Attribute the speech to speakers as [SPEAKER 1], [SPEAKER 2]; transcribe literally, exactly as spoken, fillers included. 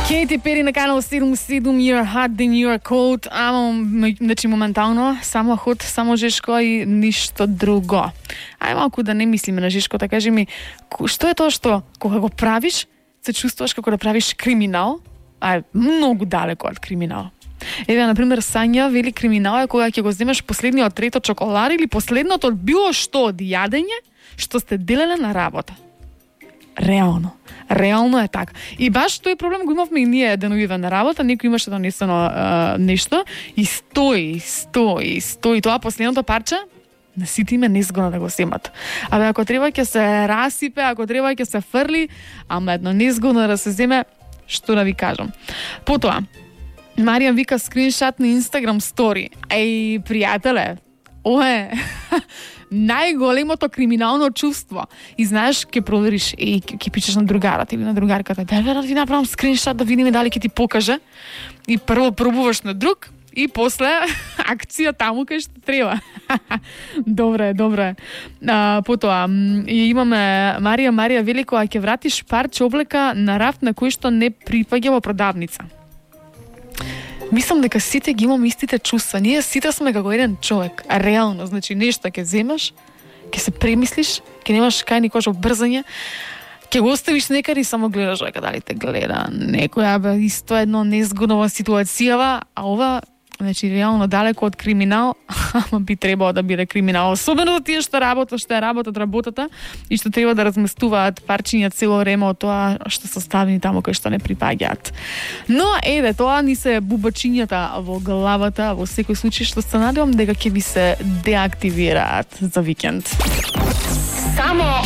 [SPEAKER 1] Katy Perry на канал седум седум, You're hot, then you're cold. Ама, значи, моментално, само ход, само жешко и ништо друго. Ај малку да не мислиме на жешко, да кажи ми, што е тоа што, кога го правиш, се чувствуваш како да правиш криминал, а е многу далеко од криминал. Еве, например, Сања вели криминал е кога ќе го земеш последниот трето чоколад или последното од било што од јадење што сте делеле на работа. Реално. Реално е така. И баш тој проблем го имавме и ние деновиве на работа, некој имаше донесено uh, нешто и стои, стои, стои. Тоа последното парче на сите име незгодно да го земат. Абе, ако треба ќе се расипе, ако треба ќе се фрли, ама едно незгодно да се земе, што да ви кажам. Потоа, Маријан вика скриншот на Instagram стори. Еј, пријателе, ова е најголемото криминално чувство. И знаеш, ќе провериш, и ќе пишеш на другарата или на другарката, да да ви направам скриншот да видиме дали ќе ти покаже. И прво пробуваш на друг и после акција таму кај што треба. Добре, добре. А, потоа, имаме Марија Марија Велико, а ќе вратиш парче облека на рафт на кој што не припаѓа во продавница. Мислам дека сите ги имаме истите чувства. Ние сите сме како еден човек. А реално, значи нешто ќе земаш, ќе се премислиш, ќе немаш кај никош обрзање, ќе го оставиш некаде и само гледаш дека дали те гледа некоја, бе, исто едно незгодна ситуацијава, а ова, значи реално далеко од криминал, ама би требало да биде криминал. Особено за тие што работат, што е работат работата и што треба да разместуваат парчиња цело време од тоа што се ставени таму кои што не припаѓаат. Но еве, тоа ни се бубачињата во главата, во секој случај што се надевам дека ќе ви се деактивираат за викенд.
[SPEAKER 2] Само